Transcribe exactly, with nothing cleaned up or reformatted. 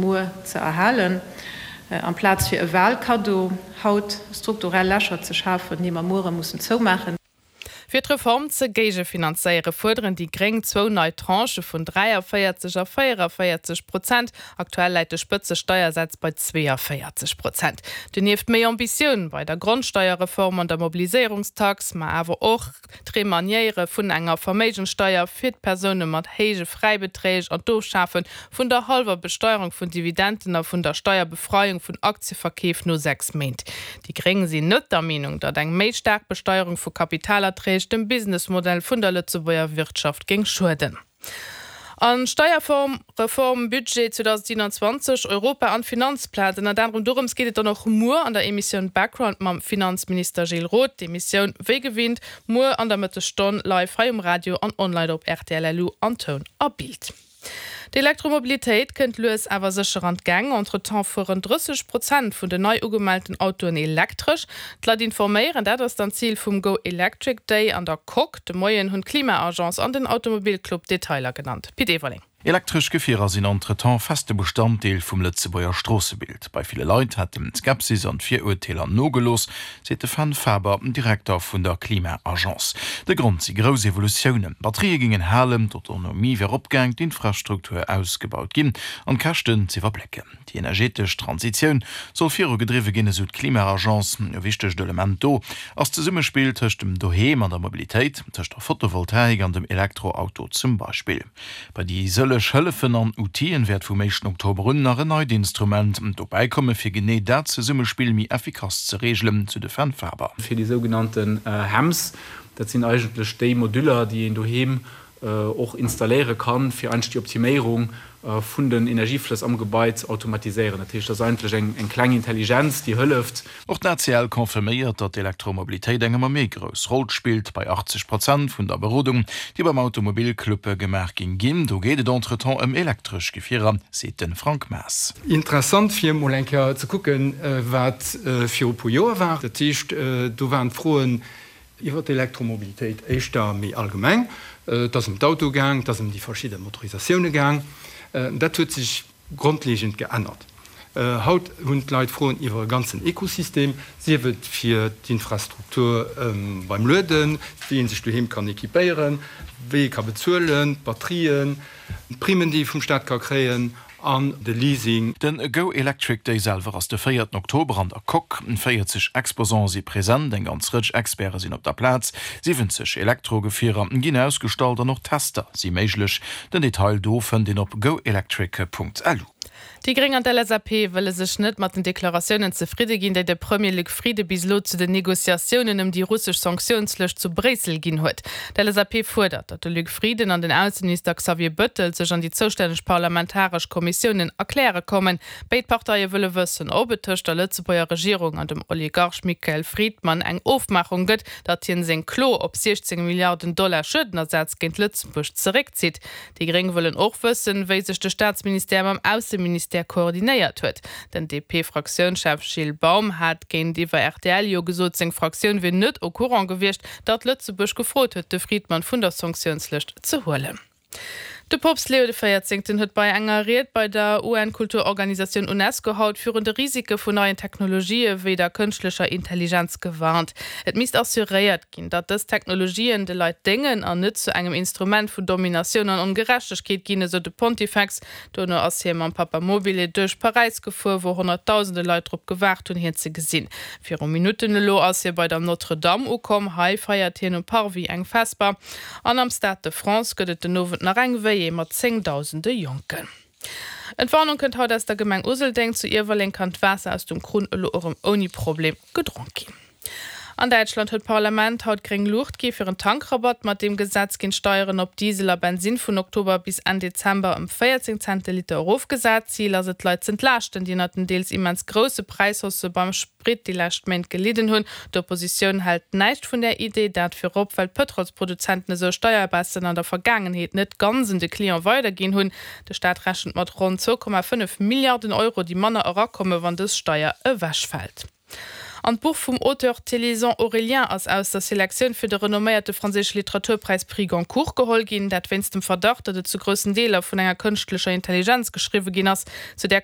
muer ze erhalen, amplaz fir e Walkaddo haut strukturell Lächer ze schafen, déi mer muere mussen zoumaachen. Fir d'Reform ze géigefinanzéiere fuerderen déi Gréng zwou nei Tranchë vun dräiavéierzeg a véieravéierzeg Prozent. Aktuell läit de Spëtzesteiersaz bei zweeënvéierzeg Prozent. Donieft méi Ambitioun bei der Grondsteierreform an der Mobiliséierungstax, ma awer och d'Remaniéiere vun enger Verméigenssteier fir d'Persoune mat héije Fräibeträg an d'Ofschafe vun der hallwer Besteierung vun Dividenden a vun der Steierbefreiung vun Aktieverkeef no sechs Méint. Déi Gréng sinn net der Meenung, datt eng méi staark Besteierung vu Kapitalerträg dem Businessmodell vun der Lëtzebuerger Wirtschaft géing schueden. An Steierform, Reform, Budget zweedausendsiewenundzwanzeg, Europa an d'Finanzplaz, ënnert anerem dorëms geet et dann och muer an der Emissioun Background mam Finanzminister Gilles Roth. D'Emissioun wéi gewinnt muer an der Mëttesstonn live hei um Radio an online op rtl L U an Toun a Bild. D'Elektromobilitéit kënnt lues awer sécher an d'Gäng. Entretemps fueren drësseg Prozent vun den nei ugemellten Autoen elektresch. D'Leit informéieren, dat ass dann d'Zil vum Go Electric Day an der Coque. De Moien hunn d'Klima-Agence an den Automobilclub Detailer genannt. Pit Everling. Elektresch Gefierer sinn entretemps feste Bestanddeel vum Lëtzebuerger Stroossebild. Bei ville Leit hätten d'Skepsis an d'Virurteeler nogelooss, seet de Fenn Faber, Direkter vun der Klima-Agence. De Grond si grouss Evolutiounen, Batterië géingen halen, d'Autonomie wier eropgaang, d'Infrastruktur ausgebaut ginn an d'Käschten z'iwwerblécken. Déi energetesch Transitioun soll virugedriwwe ginn, esou d'Klima-Agence. E wichtegt Element do ass d'Zesummespill tëscht dem Doheem an der Mobilitéit, tëscht der Photovoltaik an dem Elektroauto zum Beispill. Bei déi sëlleg Hëllefen an Outile wäert vum éischten Oktober un nach en neit Instrument dobäi komme fir genee dat Zesummespill méi effikass ze reegelen, sou de Fenn Faber. Fir déi sougenannten HEMS, dat sinn eigentlech déi Moduller, déi een doheem och installéiere kann, fir eigentlech déi Optiméierung vun den Energieflëss am Gebai ze automatiséieren. Dat heescht, dat ass eigentlech eng kleng Intelligenz, déi hëlleft. Och d'A C L confirméiert, datt d'Elektromobilitéit eng ëmmer méi grouss Roll spillt, bei achtzeg Prozent vun der Berodung, déi beim Automobilclub gemaach ginn ginn, do geet et entretemps ëm elektresch Gefierer, seet de Frank Maas. Interessant fir emol eng Kéier ze kucken, wat viru e puer Joer war. Dat heescht, do waren d'Froen iwwer d'Elektromobilitéit éischter méi allgemeng. Et ass ëm d'Auto gaang, et ass ëm déi verschidde Motorisatioune gaang. Dat huet sech grondlegend geännert. Haut hunn d'Leit Froen iwwer e ganzen Ekosystem, sief et fir d'Infrastruktur beim Lueden, wéi ee sech doheem kann equipéieren, wéi ee ka bezuelen, d'Batterien, d'Primen, déi ee vum Staat ka kréien an de Leasing. De Go Electric Day selwer ass de véierten Oktober an der Coque. véierzeg Exposante si present, eng ganz Rëtsch Experte sinn op der Plaz, siwwenzeg Elektrogefierer ginn ausgestallt an och Tester si méiglech. Den Detail do fënnt een op goelectric Punkt lu. Déi Gréng an d'L S A P wëlle sech net mat den Deklaratiounen zefridde ginn, déi de Premier Luc Frieden bis elo zu den Negociatiounen ëm déi russesch Sanktiounslëscht zu Bréissel ginn huet. D'L S A P fuerdert, datt de Luc Frieden an den Ausseminister Xavier Bettel sech an déi zoustänneg parlamentaresch Kommissiounen erkläre kommen. Béid Parteie wëlle wëssen, ob et tëscht der Lëtzebuerger Regierung an dem Oligarch Michael Fridman eng Ofmaachung gëtt, datt hien seng Klo op siechzéng Milliarden Dollar Schuedenersaz géint Lëtzebuerg zeréckzitt. Déi Gréng wëllen och wëssen, wéi sech de Staatsministère mam Ausseministère koordinéiert huet. Den D P-Fraktiounschef Gilles Baum hat géintiwwer R T L jo gesot, seng Fraktioun wier net au courant gewiescht, datt Lëtzebuerg gefrot huet, de Fridman vun der Sanktiounslëscht ze huelen. De Poopst Leo de Véierzéngten huet bei enger Ried bei der U N-Kulturorganisatioun UNESCO haut virun de Risike vun neien Technologië wéi der kënschtlecher Intelligenz gewarnt. Et misst assuréiert ginn, datt dës Technologien de Leit déngen an net zu engem Instrument vun Dominatioun an Ongerechtegkeet ginn, esou de Pontifex. Dono ass hie mam Papamobile duerch Paräis gefuer, wou honnertdausende Leit drop gewaart hunn, hien ze gesinn. Viru Minutten elo ass hie bei der Notre-Dame ukomm. Hei feiert hien um Parvis eng Vesper. An am Stade de France gëtt et den Owend nach eng Veillée mat zéngdausende Jonken. Entwarnung kënnt haut aus der Gemeng Useldeng. Zu Iewerleng kann d'Waasser aus dem Krunn elo erëm ouni Problem gedronk ginn. An Däitschland huet d'Parlament haut gréng Luucht gi fir en Tankrabatt. Mat deem Gesetz ginn d'Steieren op Diesel a Bensin vun Oktober bis Enn Dezember ëm véierzéng Cent de Liter erofgesat. Zil ass et, d'Leit z'entlaaschten, déi ënnert den deels immens grousse Präishaussë beim Sprit déi lescht Méint gelidden hunn. D'Oppositioun hält näischt vun där Idee, dat virop well d'Pëtrolsproduzenten esou Steierbaissen an der Vergaangenheet net ganz un de Client weiderginn hunn. De Staat rechent mat ronn zwou Komma fënnef Milliarden Euro, déi manner erakommen, wann dës Steier ewechfält. An d'Buch vum Auteur Thélison Aurélien ass aus der Selektioun fir de renomméierte franséische Literaturpräis Prix Goncourt geholl ginn, dat wéinst dem Verdacht, datt et zu groussen Deeler vun enger kënschtlecher Intelligenz geschriwwe ginn ass. Zu där